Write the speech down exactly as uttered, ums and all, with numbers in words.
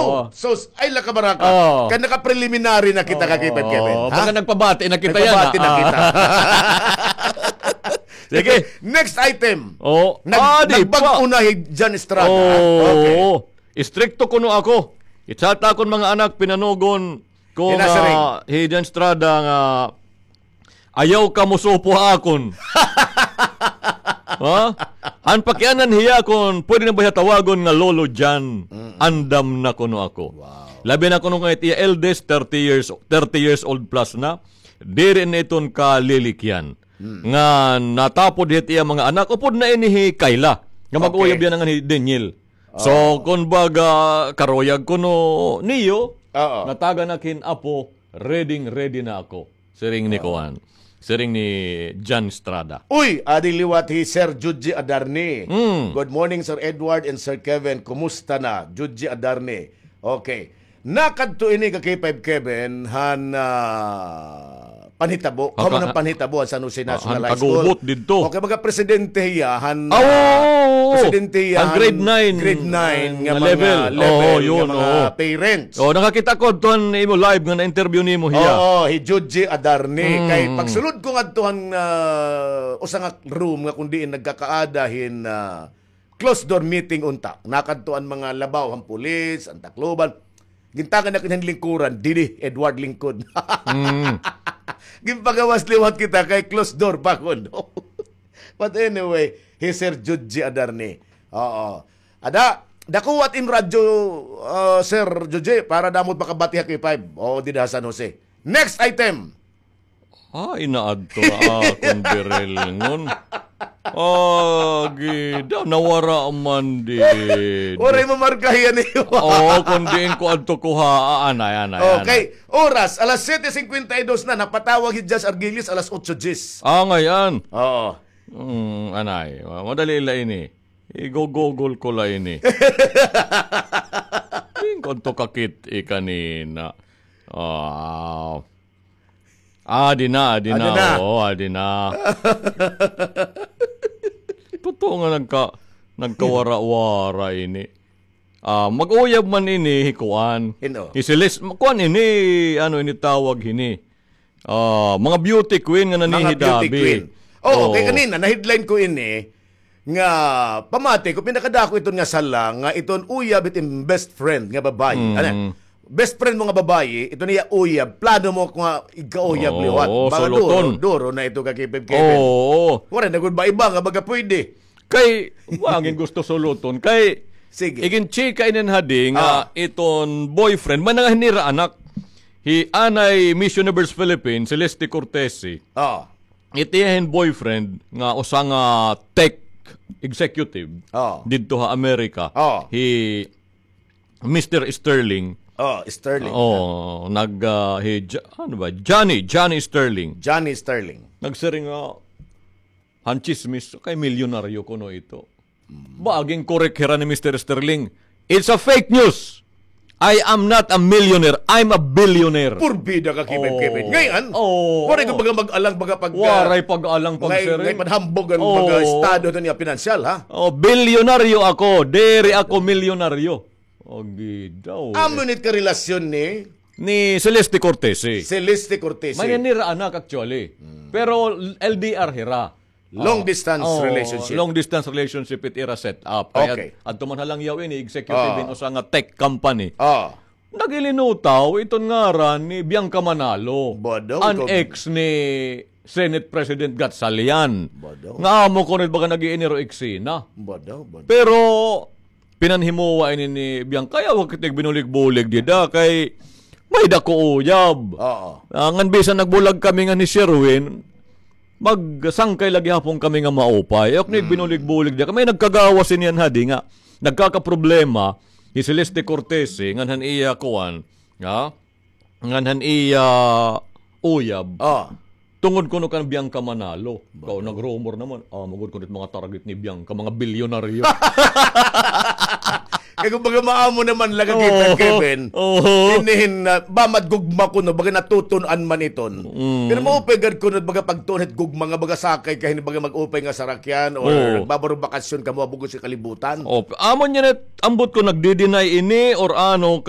Oh. Sus, ay, la ka baraka. Oh. Kan naka-preliminary na kita, ka K five Kevin, ha? Baka nagpabati na kita yan, Nagpabati na ah. kita. Sige. Next item. Oh. Nag-, Ah, di pa. nagbag-o na hi John Estrada, ha? Oh. Okay. Istrikto kuno ako. It sa akon mga anak, pinanugon ko Hinasiring. nga hi John Estrada nga ayaw ka mosupo ha akon. Ha? Han pakianan hiya kon pwede na ba hiya tawagon nga Lolo John. Mm-mm. Andam na kuno ako. Wow. Labi na kuno nga it iya eldest, thirty years, thirty years old plus na. Diri na iton kalilikyan. Mm. Nga natapod hit iya mga anak, upod na ini hi Kayla. Nga mag-uyab Okay. yana ngan hi Daniel. So, Oo. kon baga, karuyag kuno niyo, Oo. natagan na kin apo, ready, ready na ako. Siring ni Oo. kuan. Siring ni John Estrada. Uy, adi liwat hi Sir Judgy Adarni. Mm. Good morning, Sir Edward and Sir Kevin. Kumusta na? Judgy Adarni. Okay. Nakadto ini ka K five Kevin, han, ah, panhitabo. Aka-, Kamo na panhitabo han San Jose ah, National han High School. Kagubot didto. Okay, baga presidente hiya, han, Ah, oo, ah, oo, oo. presidente hiya, Han han grade nine, grade nine ah, nga nga mga level. level, Oo, nga yun, mga oo. parents. Oh, nakakita ko adto han imo live nga na-interview nimo hiya. Oo, hi Judgy Adarni. Mm. Kay pagsulod ko ngadto han, ah, usa nga room nga kun diin nagkakaada hin, ah, closed door meeting unta. Nakadto an mga labaw han pulis, an Tacloban. Gintagan na kini han lingkuran, didi, Edward lingkod. Mm. Ginpagawas liwat kita kay closed door pa kuno. But anyway, hi Sir Judgy Adarni. Oo. Ada, dakuwat in radyo, ah, Sir Judgy, para damo it makabati ha K five. Oo, dida ha San Jose. Next item. Ay, naadto na akon birilngon. Agi, daw nawara man didi. Waray mamarka hiya niyo. Oo, kun diin ko adto kuhaa, anay, anay, anay. Okay, oras, alas siyete cincuenta y dos na, napatawag hi Judge Argilis, alas otso diyes. Ah, ngay-an. Oo. Mm, anay, ma-, madali la ini. Igo-google ko la ini. Diin ko adto kakit-i kanina. Ah, Adi na, adi na. Adi na. Oo, adi na. Totoo nga nagka-, nagkawara-wara ini. Ah, mag-uyab man ini, hi kuan. Hin-o? Hi Celeste, kuan ini, ano ini tawag hini? Ah, mga beauty queen nga Mga beauty nanhihidabi. queen. Oo, Oo. kay kanina, na-headline ko ini, nga pamati ko, pinakadako iton nga sala, nga iton uyab it im best friend nga babayi. Mm. Ano? Best friend mo nga babayi, iton iya uyab, plano mo nga igkauyab Oo, liwat. Baga suluton. duro, duro na ito ka Kevin. Oo. Waray na gud ba iba nga baga pwede? Kay, wa gin gusto suluton. Kay, Sige. iginchika ini hadi nga Ah. iton boyfriend, may nangahinira anak. Hi anay Miss Universe Philippines, Celeste Cortese. Ah. It iya hin boyfriend nga usa nga tech executive Oh. didto ha Amerika. Oh. Hi Mister Sterling. Oh, Sterling. Oh, nag, ah, hi Jo-, ano ba? Johnny, Johnny Sterling. Johnny Sterling. Nagsiring nga, han chismis, kay milyonaryo kuno ito. Ba, aging correct hira ni Mister Sterling. It's a fake news. I am not a millionaire. I'm a billionaire. Purbida ka, Kevin, Oo. Kevin. Ngayon, Oo. waray ko baga mag-alang baga pag, Waray pag-alang pag ngay-, siring. ngay panhambog an Oo. baga estado ito niya pinansyal, ha? Oh, bilyonaryo ako. Diri ako milyonaryo. Agi daw, eh. Amo nit ka relasyon ni Ni Celeste Cortese. Celeste Cortese. May nanira anak, actually. Hmm. Pero L D R hira. Long Oh. distance Oh, relationship. long distance relationship it ira set up. Kay Okay. ad-, adto man ha Langyaw ini, executive Oh. in usa nga tech company. Oh. Naghilinutaw iton ngaran ni Bianca Manalo. Bodo, An ikaw ex ni Senate President Gatchalian. Bodo. Nga amo kuno it baga nag-iiniro eksena. Bodo, bodo. Pero pinanhimuwa ini ni Bianca, ayaw kita igbinulig-bulig dida kay may dako uyab. Oo. Ah, ngan bisan nagbulag kami ngan hi Sherwin, magsangkay la gihapon kami nga maupay. Ayaw kita Mm. igbinulig-bulig dida. Kay may nagkagawas ini han hadi nga nagkakaproblema hi Celeste Cortese ngan han iya kuan, ha? Ngan han iya uyab. Ah. Tungod kuno kan Bianca Manalo. Baga. Kaw, nag-rumor naman. Ah, magud kuno it mga target ni Bianca, mga bilyonaryo. Kay kumbaga maamo naman la ka kita, Oo. Kevin. Oo. Inihin na, ba madgugma kuno, baga natutun-an man iton. Mm. Pero maupay gad kuno, baga pagtuon hit gugma nga, baga sakay ka hini, baga mag-upay nga sarakyan, or Oo. nagbabarong bakasyon ka, mabugos sa kalibutan. Oh, amo niya na, ambot ko nagdi-deny ini, or ano,